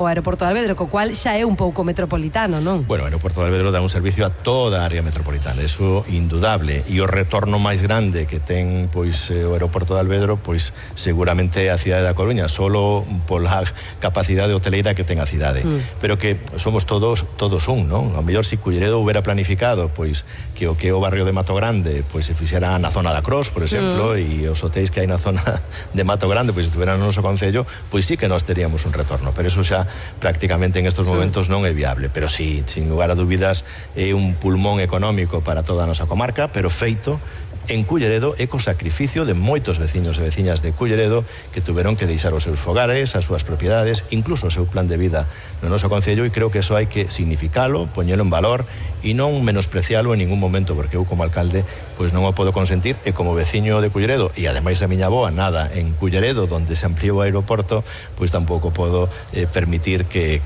o aeroporto de Alvedro, co cual xa é un pouco metropolitano, non? Bueno, o aeroporto de Alvedro dá un servicio a toda a área metropolitana, eso indudable, e o retorno máis grande que ten pois o aeroporto de Alvedro, pois seguramente a cidade da Coruña, solo pola capacidade hoteleira que ten a cidade, pero que somos todos un, non? Ao mellor se Culleredo houbera planificado pois que o barrio de Mato Grande pois se fixera na zona da Cros, por exemplo, e os hotéis que hai na zona de Mato Grande pois estuveran no noso concello, pois sí que nós teríamos un retorno, pero eso xa prácticamente en estos momentos non é viable, pero sí, sin lugar a dúbidas é un pulmón económico para toda a nosa comarca, pero feito en Culleredo e co sacrificio de moitos veciños e veciñas de Culleredo que tuveron que deixar os seus fogares, as súas propiedades, incluso o seu plan de vida no noso concello, e creo que eso hai que significalo, poñelo en valor e non menosprecialo en ningún momento, porque eu como alcalde pois non o podo consentir, e como veciño de Culleredo, e ademais a miña avoa nada en Culleredo, donde se ampliou o aeroporto, pois tampouco podo permitir que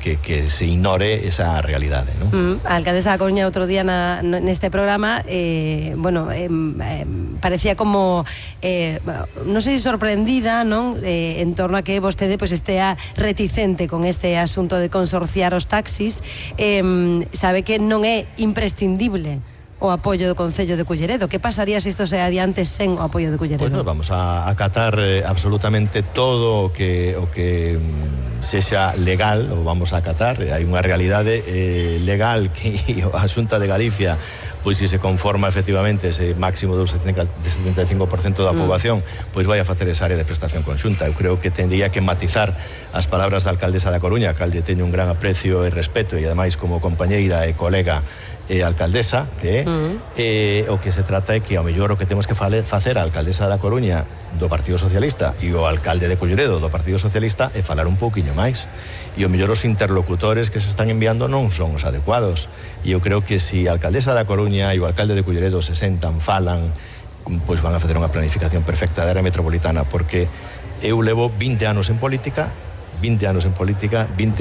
se ignore esa realidade, non? A alcaldesa da Coruña outro día neste programa parecía como non sei se sorprendida, non? En torno a que vostede pois estea reticente con este asunto de consorciar os taxis, sabe que non é imprescindible o apoio do Concello de Culleredo. Que pasaría se isto se adiante sen o apoio de Culleredo? Pues vamos a acatar absolutamente todo o que sexa legal, o vamos a acatar. Hai unha realidade legal que a Xunta de Galicia, pois se conforma efectivamente ese máximo do 75% da poboación, pois vai a facer esa área de prestación conxunta. Eu creo que tendría que matizar as palabras da alcaldesa da Coruña. A alcalde teño un gran aprecio e respeto, e ademais como compañeira e colega alcaldesa, que o que se trata é que ao mellor o que temos que facer a alcaldesa da Coruña do Partido Socialista e o alcalde de Culleredo do Partido Socialista é falar un pouquiño máis, e ao mellor os interlocutores que se están enviando non son os adecuados, e eu creo que se a alcaldesa da Coruña e o alcalde de Culleredo se sentan, falan, pois van a facer unha planificación perfecta da área metropolitana, porque eu levo 20 anos en política, 20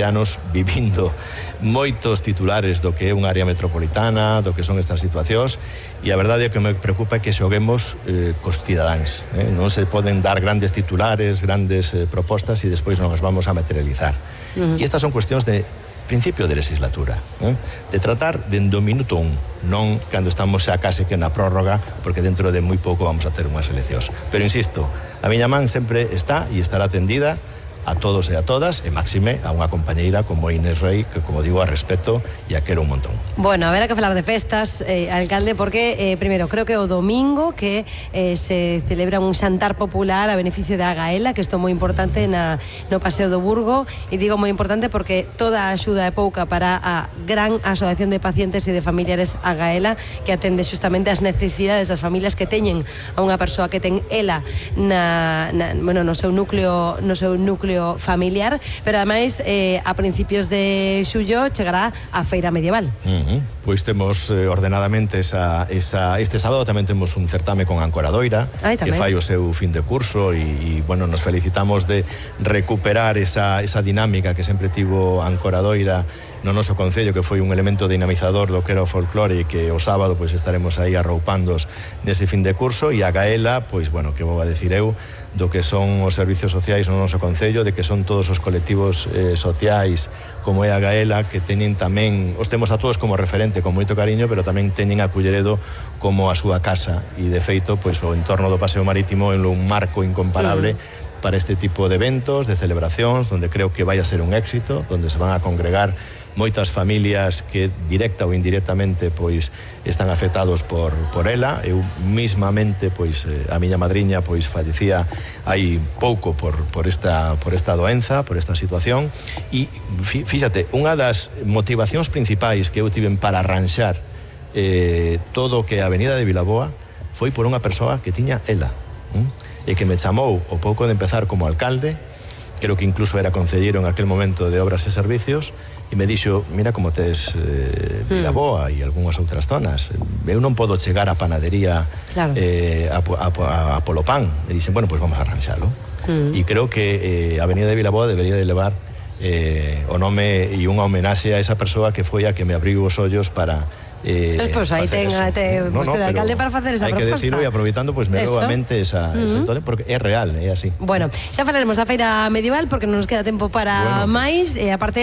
anos vivindo moitos titulares do que é unha área metropolitana, do que son estas situacións, e a verdade é que me preocupa que xoguemos cos cidadáns. Non se poden dar grandes titulares, grandes propostas, e despois non as vamos a materializar. E estas son cuestións de principio de legislatura, de tratar dende o minuto 1, non cando estamos xa case que na prórroga, porque dentro de moi pouco vamos a ter unhas eleccións. Pero insisto, a miña man sempre está e estará atendida a todos e a todas, e máxime a unha compañeira como Inés Rey, que, como digo, a respeto e a quero un montón. Bueno, a ver, a que falar de festas, alcalde, porque, primeiro, creo que o domingo que se celebra un xantar popular a beneficio da Agaela, que isto é moi importante no Paseo do Burgo, e digo moi importante porque toda a axuda é pouca para a gran asociación de pacientes e de familiares Agaela, que atende justamente as necesidades das familias que teñen a unha persoa que ten ela no seu núcleo familiar, pero ademais a principios de xullo chegará a feira medieval. Pois temos ordenadamente este sábado tamén temos un certame con Ancoradoira, que fai o seu fin de curso, e bueno, nos felicitamos de recuperar esa dinámica que sempre tivo Ancoradoira no noso concello, que foi un elemento dinamizador do que era o folclore, e que o sábado pois estaremos aí arroupandos nese fin de curso. E a Gaela, pois bueno, que vou a decir eu do que son os servicios sociais no noso concello, de que son todos os colectivos sociais como é a Gaela, que teñen tamén, os temos a todos como referente con moito cariño, pero tamén teñen a Culleredo como a súa casa, e de feito pois o entorno do Paseo Marítimo é un marco incomparable para este tipo de eventos, de celebracións, donde creo que vai a ser un éxito, donde se van a congregar moitas familias que directa ou indirectamente pois están afectados por ela. Eu mismamente pois a miña madriña pois fallecía hai pouco por esta doenza, por esta situación, e fíxate, unha das motivacións principais que eu tiven para arranxar todo o que a Avenida de Vilaboa foi por unha persoa que tiña ela, e que me chamou o pouco de empezar como alcalde, creo que incluso era concelleiro en aquel momento de Obras e Servicios, e me dixo, mira como tes Vilaboa e algunhas outras zonas, eu non podo chegar á panadería a polo pan. E dixen, bueno, pois vamos a arranxalo. E creo que a Avenida de Vilaboa debería de levar o nome e unha homenaxe a esa persoa que foi a que me abriu os ollos para Pois aí ten vostede alcalde para facer esa proposta. Hai que decirlo e aproveitando, pois me veo a mente esa porque é real, é así. Bueno, xa falaremos da feira medieval porque non nos queda tempo para máis, e aparte